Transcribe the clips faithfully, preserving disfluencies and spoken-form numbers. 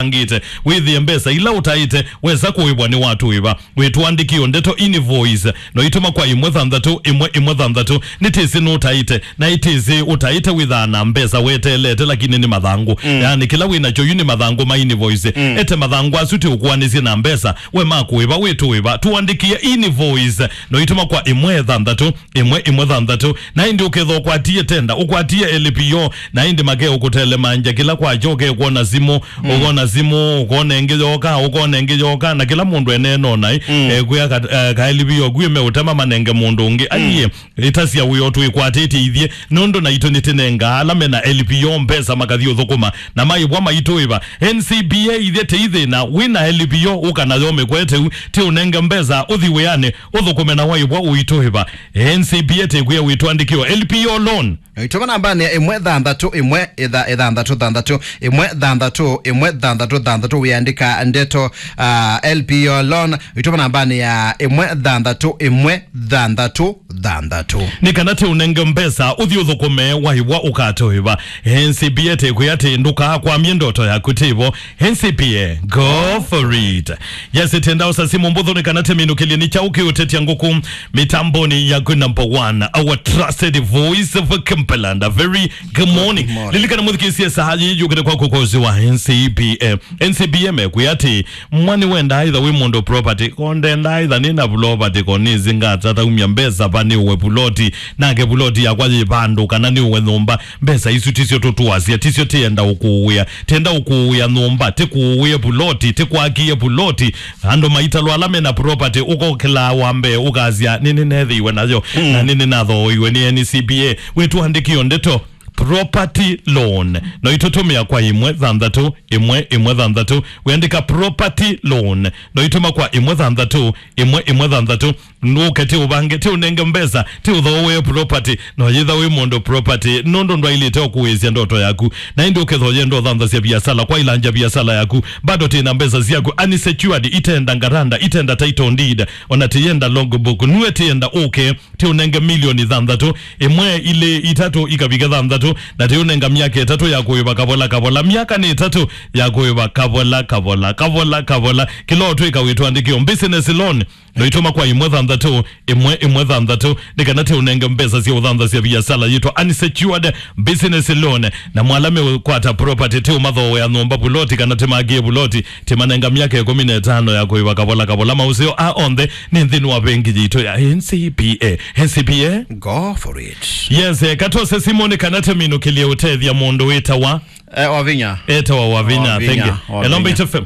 ũvangĩte, wĩthĩe mbesa ila ũtaĩte wesa kũĩvwa nĩ watũĩva. Wĩtũandĩkĩo ndeto, invoice, no itũma kwa ĩmwe thanthatũ ĩmwe ĩmwe thanthatũ. Nĩtĩsĩ nũtaĩte, na ĩtĩsĩ ũtaĩte wĩthaa na mbesa weteelete, lakini nĩ mathangũ. Mm. Yaani, kĩla wĩ nakyo yu nĩ mathangũ ma invoice. Mm. Ete mathangũ asu tĩũkũanĩsye na mbesa, we makũĩva, wĩtũĩva. Tũandĩkĩe invoice, no itũma kwa ĩmwe thanthatũ ĩmwe ĩmwe thanthatũ. Na ĩndĩ ũkethwa ũkwatie tenda, ũkwatie L P O, na ĩndĩ make ũkũtelemangya kĩla kwakyo, ũkekwona simũ, mm, ũkona simũ, ũkona ĩngĩ yoka, ũkona ĩngĩ yoka, na kĩla mũndũ eneenona, mm, ekwĩa ka, eh, ka L P O kwĩ meũtema manenge mũndũ ũngĩ. Mm. Aiye, ĩtasya wĩo twĩkwatĩtye ithyĩ, nũndũ naitũ nĩtĩnengaa ala mena L P O mbesa makathi ũthũkũma, na maĩvwa maitũĩva. N C B A ithyĩ tĩithĩna, wĩna L P O ũka nayo mĩkweteu, tĩũnenge mbesa, ũthi wĩanĩ, ũthũkũme na waĩvwa ũitũĩva. N C B A tĩkwĩa wĩtũandĩkĩo L P O loan. Itũma nambanĩ ya ĩmwe thanthatũ ĩmwe ĩtha-, ĩthanthatũ thanthatũ, ĩmwe thanthatũ ĩmwe thanthatũ thanthatũ, wĩandĩka ndeto, ah, L P O loan. Itũma nambanĩ ya ĩmwe thanthatũ ĩmwe thanthatũ thanthatũ. Nĩ kana tĩũnenge mbesa, ũthi ũthũkũme, waĩvwa ũkatũĩva. N C B A tĩkwĩa atĩ ndũkakwamye ndoto yaku tĩvo. N C B A, go for it. Yes, tenda ũsa simũ mbũthũ nĩ kana tĩminũkĩlye nĩ kyaũ kĩũtetya ngũkũ mĩtambonĩ yaku number one, our trusted voice of Kimberland. A very good morning. Good morning. Lilikana mũthikĩĩsye saa yĩĩ yũkĩte kwaku kwa ũsĩ wa N C B A. N C B A mekwĩa atĩ, mwa nĩwendaa ĩtha wĩ mũndũ property, ko ndendaa ĩtha nĩ na property, ko nĩsĩ ngatata umya mbesa va nĩũwe puloti, nake puloti yakwa yĩ vandũ, kana nĩũwe nyũmba. Mbesa isu tisyo tũtũasya, tisyo tĩenda ũkũũĩa. Tĩenda ũkũũĩa nyũmba, tĩkũũĩe puloti, tĩkwakie puloti. Andũ maitalwa ala mena property, ũkokĩlaa wa mbee, ũkasya, "Nĩnĩneethĩiwe nayo, mm, na nĩnĩnathooiwe nĩ N C B A." Wĩtũandĩkĩo ndeto, property loan. No itũtũmĩa kwa ĩmwe thanthatũ ĩmwe ĩmwe thanthatũ. Wĩandĩka property loan, no itũma kwa ĩmwe thanthatũ ĩmwe ĩmwe thanthatũ. Nũke tĩũvange, tĩũnenge mbesa, tĩũthooe property. No yĩtha wĩ mũndũ property, nũndũ ndwaĩlĩte ũkũĩsya ndoto yaku. Na ĩndĩ ũkethwa ũyenda ũthanthasya viasala, kwa ilanja viasala yaku, bado tĩna mbesa syaku unsecured, itenda ngaranda, itenda title deed, ona tĩyenda logbook, nue tĩyenda ũke, tĩũnenge milioni thanthatũ, ĩmwe, ilĩ, itatũ, ikavike thanthatũ, na tĩũnenga myaka ĩtatũ ya kũĩva kavola kavola. Myaka nĩ ĩtatũ ya kũĩva kavola kavola, kavola kavola. Kĩla ũtwĩka wĩtũandĩkĩo business loan, no itũma kwa ĩmwe thanthatũ ĩmwe ĩmwe thanthatũ, nĩ kana tĩũnenge mbesa sya ũthanthasya viasala yĩtwa unsecured business loan. Na mwala meũkwata property, tĩũmathooea nyũmba, vuloti, kana tĩmakie vuloti, tĩmanenga myaka ĩkũmi na ĩtano ya kũĩva kavola kavola. Maũseo aa onthe nĩ nthĩnĩ wa vengi yitũ ya N C B A. N C B A. Go for it. Yes, eh, katose simũ nĩ kana tĩminũkĩlye ũtethya mũndũ wĩtawa, eh, Wavinya. Etawa Wavinya, Wavinya, thank you. Wavinya. Hello, Mbaitu F M.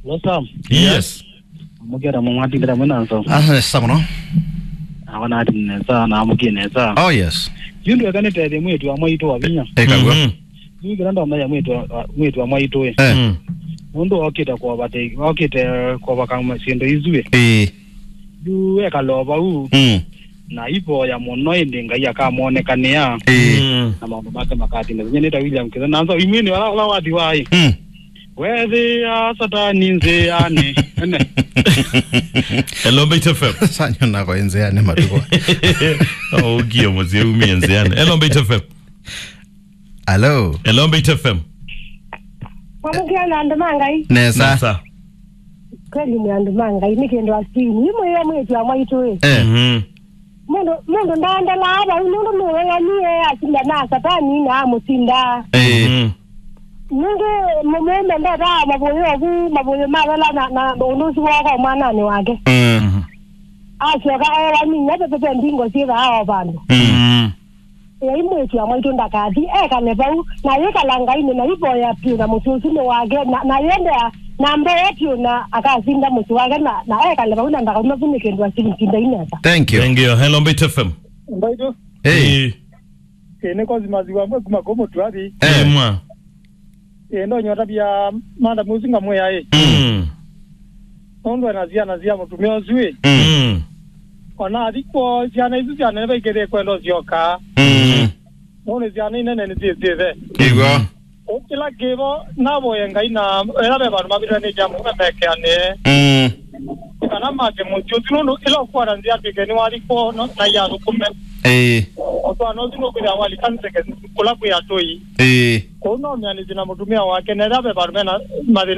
Hello, Sam. Yes. Yes. Mũkĩra mwatinda mwĩ na nso. Ah, nesa mũno. Awa nati nesa, na mũkie nesa. Oh, yes. Yu ndweka nĩtethye mwĩĩtu wa mwaitũ Wavinya. Eka guo. Mhm. Yu kĩla ndomanya mwĩĩtu wa, mwĩĩtu wa mwaitũ ĩ. Eh. Mm. Nũndũ okĩte kwovate, okĩte kwovaka syĩndũ isu ĩ. Ĩĩ. Yu ekala o vau. Mm. Na ivoya mũno ĩndĩ Ngai akamonekanĩa. Ĩĩ. Mm. Na maũndũ make makatinda. Nĩta William Kĩthe. Na nso imwini wala, wala wathi waĩ. Mm. Wethĩa Satani nzĩanĩ. Ene. Hello, Mbaitu F M. Sanyo nako nzĩanĩ matukũ. Ũkie mũsyĩ umie nzĩanĩ. Hello, Mbaitu F M. Hello. Hello, Mbaitu F M. Mwamũkĩa na andũ ma Ngai. Nesa. Nesa. Kweli nĩ andũ ma Ngai, nĩ kĩndũ asini. Imwĩya mwĩĩtu wa mwaitũ ĩ. Eh. Mhm. Mũndũ, mũndũ ndaendelaa vau, nũndũ nũng'ang'anie asinda na Satani na amũsinda. Eh. Mhm. Nũndũ mũmũme ndetaa mavũyũ ovu, mavũyũ mavela na, na ũndũ ũsu wooka mwananĩ wake. Mm. Mhm. Asyoka ewa ninya tete mbingo syĩthaa o vandũ. Mm. Mhm. Ĩai mwĩĩtu wa mwaitũ ndakathi, ekale vau, na yĩkala Ngainĩ, na ivoya vyũ na mũsyĩ ũsu nĩ wake, na, na yendea na mbee vyũ, na akasinda mũsyĩ wake, na, na ekale vau, na ndakauma vu nĩ kĩndũ asimtinda inesa. Thank you. Thank you. Hello, Mbaitu F M. Mbaitu. Hey. Hey. Ĩĩ, nĩ Cosmas Wambua kuma kũu Mũtuathi. Eh. Ĩĩ, mwa. Ĩĩ, ndonyota bia manda mũsu ngamwĩa ĩ. Mm. Nũndũ ena syana sya mũtumĩa ũsu ĩ. Mm. Ona athi kwoo, syana isu sya nene vaikĩthĩe kwenda ũsyoka. Mm. Nũndũ syana inene nĩsyĩsĩthe. Ĩw'o. Kĩla kĩvo, navoye Ngai na ĩla ve vandũ mavĩtwe nĩ kyamũka mekeanĩe. Mm. kana make mũsyĩ ũsu, nũndũ ĩla ũkwata nzĩa twĩke nĩwathi kwoo no, na iathũkũme. Ĩĩ. Ũtwaano ũsu nũkwĩthĩa walika nzeke kũla kwĩ atũi. Ĩĩ. Kũu no mĩanĩsye na mũtumĩa wake, na ĩla ve vandũ mena mathĩna